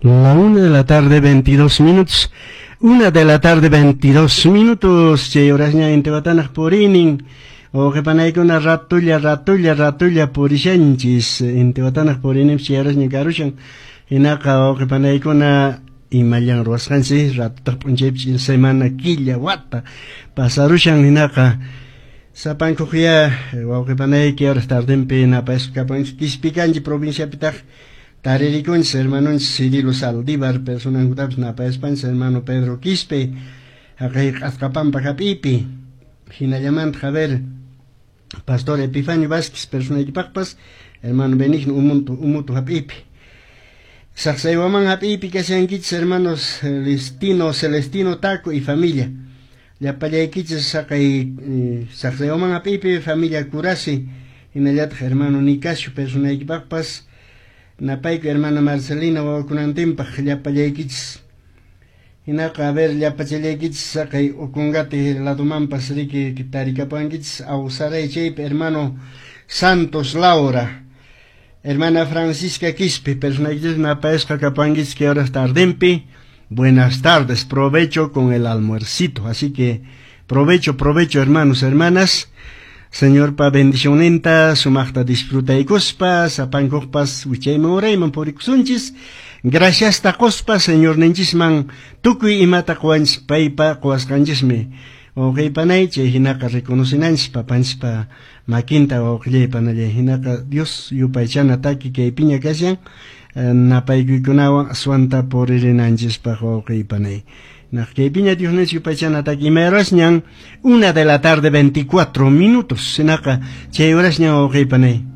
La 1 de la tarde, 22 minutos. 1 de la tarde, 22 minutos. Chay horasña intiwatanaq purinin. Wawqipanaykuna ratulla, ratulla, ratulla purishanchis. Intiwatanaq purinin chay horasña karushan. Hinaqa wawqipanaykuna imallan ruwasqanchis ratutaq p'unchaypi semana, killa, wata pasarushan. Hinaqa sapankuqya wawqipanayki horas tardenpi napayasqa kapanchis Quispicanchi provinciapitaq taririkunchis hermanonchis Cirilo Saldívar personankutapis napayaspanchis hermano Pedro Quispe haqay Q'asqapampa hap'ipi. Hinallamantaq, a ver, Pastor Epifanio Vázquez personaykipaqpas, hermano Benigno Umutu hap'ipi. Saqsaywaman hap'ipi kashankichis hermanos Celestino, Celestino Taco y familia. Llapallaykichis saqay Saqsaywaman hap'ipi familia Curasi, hinallataq hermano Nicasio personaykipaqpas napayku hermana Marcelina wawakunantinpaq llapallaykichis. Hinaqa, a ver, llapachallaykichis saqay Ocongate ladomanpas riki tarikapankichis Awsaray chaypi hermano Santos Laura, hermana Francisca Quispe personaykichis napayasqa kapankichis que horas tardenpi. Buenas tardes, provecho con el almuercito. Así que provecho, provecho, hermanos, hermanas. Señorpa bendicionninta sumaqta disfrutaykuspa sapankuqpas wichayman urayman purikusunchis. Gracias quspa Señorninchisman tukuy imata quwanchis paypa quwasqanchismi. Wawqiypanay, chay hinaqa reconocinanchis papanchispa makinta, wawqillaypanallay. Hinaqa Dios yupaychana taki kaypiña kashan napaykuykunawan aswanta puririnanchispaq, wawqiypanay. Naq kaypiña Dios ninchis yupaychana taki imayrasñan 1 de la tarde 24 minutos. Hinaqa chay horasñan, wawqiypanay.